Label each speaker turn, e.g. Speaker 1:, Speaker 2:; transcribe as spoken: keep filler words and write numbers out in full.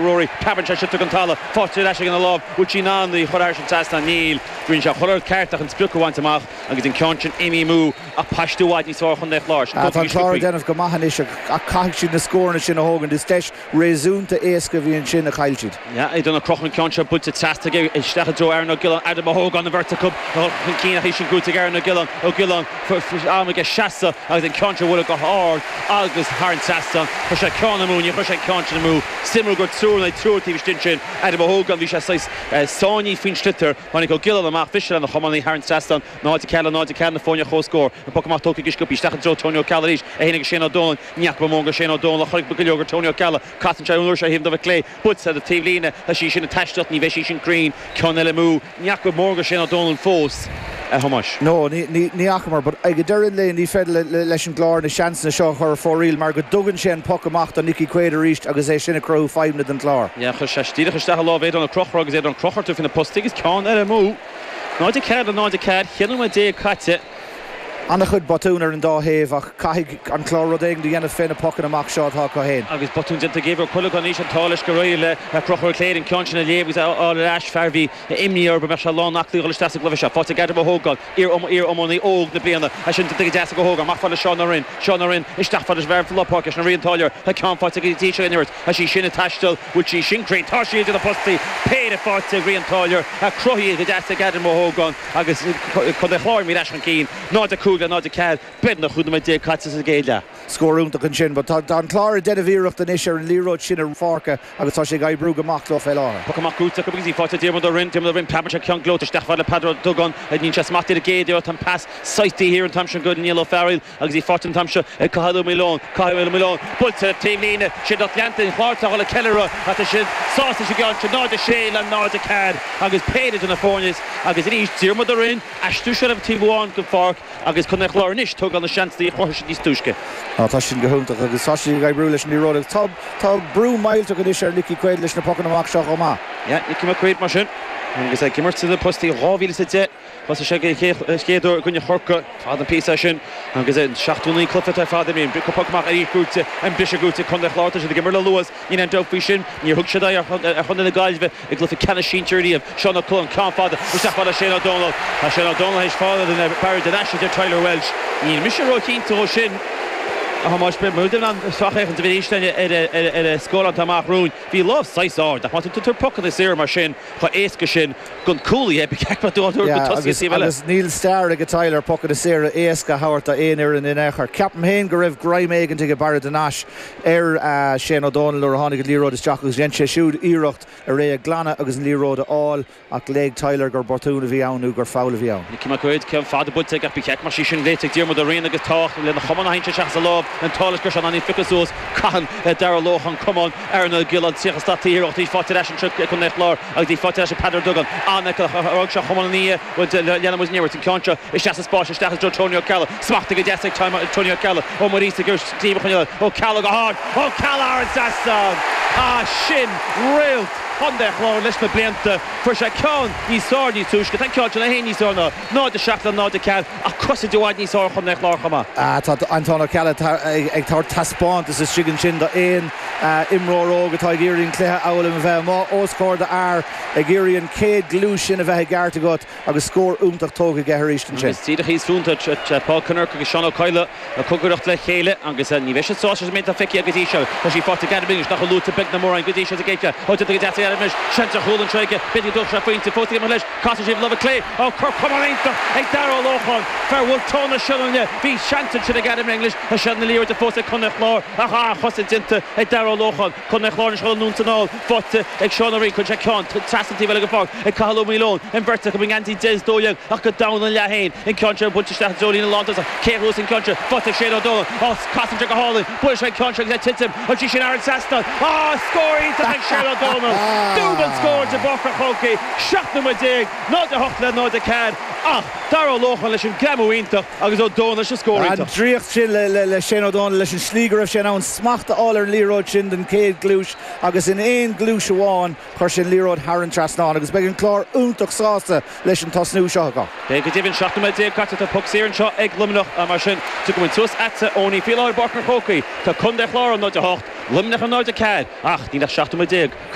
Speaker 1: Rory. Preabann sé sliotar den talamh, faighte ar ais aige ina lámh, bhfuil sí in ann í a chur thar an trasnán? Níl. Rinne sé an rud ceart ach an sprioc a bhaint amach agus an ceann sin imithe amú ach paiste i bhfad níos fearr Chontae an Chláir. Sin
Speaker 2: Tá
Speaker 1: tugtha
Speaker 2: an
Speaker 1: ag
Speaker 2: Clár ag
Speaker 1: Sciobthaí.
Speaker 2: déanamh go maith anois ach caithfidh siad na scóranna sin a thógaint. Is deis réasúnta éasca a bhí ansin a chaill siad.
Speaker 1: Yeah, Aidan Ó Conchúir an ceann seo buailte trasna aige isteach i dtreo Aaron Ó Giolláin, Adam Ó hÓgáin an bheirt acu chun cinn ach í sin gnóthaithe ag Aaron Ó Giolláin, Ó Giolláin am aige seasamh agus an ceann seo buailte go hard agus thar an trasnán. Chuir sé ceann amú, ní chuir sé an ceann sin amú. Suimiúil gur triúr nó triúr taobh istigh sin Adam Ó hÓgáin bhí sé saghas sáinnithe faoin sliotar tháinig Ó Giolláin amach bhris lena chománaí thar an trasnán náid a ceathair le náid a ceathair na foirne comhscór. An poc amach tógtha go sciobtha isteach i dtreo Tony Ó Ceallaigh arís é féin agus Shane Ó Dónaill ní fhaca mé go Shane Ó Dónaill a chuir go leor Tony Ó Ceallaigh casann sé an uair seo thaobh an clé buailte ar an taobhlíne tá sí sin ag taisteal ní bheidh sí sin cruinn ceann eile amú ní fhaca mór go Shane Ó Dónaill fós a Thomáis.
Speaker 2: No, ní fhacamar, but ag deireadh an lae ní féidir leis an gClár na seansanna seo chur fóiríl mar go dtugann sé an poc amach do Nicky Quaid arís agus é sin ag cruthú fadhbanna don Chlár.
Speaker 1: Yeah, chuir sé díreach isteach a lámh Aidan Ó Conchúir agus Aidan Ó Conchúir tú faoi na postaí agus ceann eile amú. Náid a ceathair le náid a ceathair, ceithre nóiméad déag caite.
Speaker 2: An-chuid botún ar an dá thaobh ach caithfidh an Clár rud éigin a dhéanamh fé na pocanna amach seo atá acu féin.
Speaker 1: Agus botún déanta ag Ó Cuileagáin anois an t-ádh leis go réidh le Conchúr Cléir an ceann sin a léamh agus a fháil ar ais fear bhí imní air go mbeadh sé lán aclaí dul isteach sa gcluiche seo. Faighte ag Adam Ó hÓgáin, iar-iománaí óg na bliana, é sin déanta go deas ag Ó hÓgáin, amach fad le Seán Ó Rinn, Seán Ó Rinn isteach fad leis bhfear lár páirce, sin Rian Táilliúir, tá ceann faighte go dtí seo an imirt, tá sí sin ag taisteal, bhfuil sí sin cruinn, tá sí idir na postaí, péire faighte ag Rian Táilliúir, a cruthaithe go deas ag Adam Ó hÓgáin agus Contae Chláir imithe ar ais chun cinn, náid a cúig le náid a ceathair, beagnach cúig nóiméad déag caite sa gcéad leath.
Speaker 2: Scór iontach ansin, but tá an Clár ag déanamh iarracht anois ar an liathróid sin ar pháirce agus tá sé ag oibriú go maith leo fé láthair.
Speaker 1: Poc amach gnóthaithe acu agus í faighte Diarmuid Ó Rinn, Diarmuid Ó Rinn preabann sé ceann gleoite isteach fad le Peadar Ó Dugán, níl sé smacht ar an gcéad tá an pas saite thiar an t-am sin go Niall Ó Fearghail agus í faighte an t-am seo ag Cathal Ó Maoileoin, Cathal Ó Maoileoin, buailte taobhlíne, sin lucht leanta an Chláir atá le ceiliúradh ach tá siad sásta sa gceann sin náid a sé le náid a ceathair agus péire de na foirne agus arís Diarmuid Ó Rinn aistriú seilbh taobh amháin den pháirc agus Contae Chláir anois tógáil na seansanna a chruthaigh siad níos túisce.
Speaker 2: Tá sin go hiontach agus tá sí ag oibriú leis an liathróid agus tá tá brú millteach anois ar Nicky Quaid leis na pocanna amach seo chomh maith.
Speaker 1: Yeah, Nicky McQuaid mar sin agus ag imirt na postaí dhá mhíle is a deich Thosaigh sé chéad uair i gcoinne Chorcaí fad an píosa sin agus an seachtó naoi cluiche ar fad imríonn poc amach arís gnóthaithe an briseadh gnóthaithe Contae Chláir tá siad ag imirt le luas níl aon dabht faoi sin níor thug siad aghaidh ar Chontae na Gaillimhe i gcluiche ceannais sinsir riamh Seán Ó Cualáin ceann fada isteach fad le Shane Ó Dónaill Tá Shane Ó Dónaill théis fáil den Barry den ais idir Tyler Welsh Níl mise róchinnte ó sin a Thomáis muid an sracfhéachaint a bhí ar a scór an amach romhainn bhí lámh saghas ard ach má tá tú pocanna saor mar sin chomh éasca sin gon cúlaí
Speaker 2: Agus níl stair ag Tyler pocanna saora éasca a thabhairt aon fhoireann in aon chor. Ceapaim féin go raibh greim éigin ag Barry den ais ar Shane Ó Dónaill nuair a tháinig an liathróid isteach agus dhein sé siúd iarracht ar é a ghlanadh agus an liathróid a fháil ach léigh Tyler gur botún a bhí ann nó gur foul a bhí ann.
Speaker 1: Nicky McQuaid ceann fada buailte ach bhí ceart mar sí sin léite ag Diarmuid Ó Riain agus tá lena chamán a haon seach sa lámh an tálas gur an fiche suas caitheann Dara Lóchan camán ar na Gil an tríocha slat taobh faighte ar ais anseo chun Chlár agus í faighte ar ais Peadar Duggan an seo chamán ní lena ní an ceann seo isteach sa spás isteach i dtreo Tony Ó Ceallaigh smacht go deas ag Tony Ó Ceallaigh ó Maurice gur díobh chun Ó Ceallaigh go hard Ó Ceallaigh an trasnán á sin réalt Chontae Chláir leis na blianta fuair sé ceann níos fearr níos túisce tá ceann sin a haon níos fearr ná náid a seacht le náid a ceathair ach crosaid i bhfad níos fearr Chontae Chláir chomh maith.
Speaker 2: Tá Anton Ó Ceallaigh ag tabhairt taispeántas istigh ansin do aon imreoir óg atá ag iarraidh an cluiche a fhoghlaim a bheith amuigh os comhair d'fhear ag iarraidh an chéad ghluais sin a bheith i gceart agat agus scór iontach tógtha aige arís ansin.
Speaker 1: Agus díreach thíos fúnta Paul Kinnerk agus Seán Ó Cadhla ag cócaireacht le chéile agus ní bheidh siad sásta méid feicthe go dtí seo Tá sí faighte ag Adam English nach luaite beag na mórán go dtí seo sa gcéad ó go deas Adam English seans ar chúl anseo aige b'fhéidir go sé pointe fós ag leis casann sé lámh clé ó cur camán iontach ag Dara Ó Lócháin fear Bhulf Tón na Sionainne bhí seans ansin ag Adam English tá sé na liathróid fós ag Contae Chláir ach an-chosaint déanta ag Dara Ó Lócháin Contae Chláir an anonn is anall faighte ag Seán Ó Riain chun sé ceann trasna taobh eile den pháirc ag Cathal Ó Maoileoin an bheirt acu i ngeansaí deich dó dhéag ach go domhan an leath féin an ceann seo buailte isteach Jolín lán cé rús an ceann seo faighte ag Shane Ó Dónaill á casann sé go hálainn buail sé an ceann seo agus é titim an sí sin ar an trasnán á scór iontach ag Shane Ó Dónaill Dúbailt scór de Bhóthar an Chrócaigh seacht nóiméad déag náid a hocht le náid a ceathair ach Dara Ó Lócháin leis an greamú iontach agus Ó Dónaill leis an scór
Speaker 2: An
Speaker 1: iontach.
Speaker 2: draíocht sin le, le, le Shane Ó Dónaill leis an slí go raibh sé ann smacht a fháil ar an liathróid sin den chéad ghluais agus in aon ghluais amháin chuir sin liathróid thar an trasnán agus beidh an clár iontach sásta leis an tosnú seo acu.
Speaker 1: Beidh go deimhin seacht nóiméad déag caite tá poc saor anseo ag Luimneach mar sin tugann suas ata óní faoi láthair i bPáirc an Chrócaigh Tá Contae Chláir an náid a hocht, Luimneach an náid a ceathair ach níl ach seacht nóiméad déag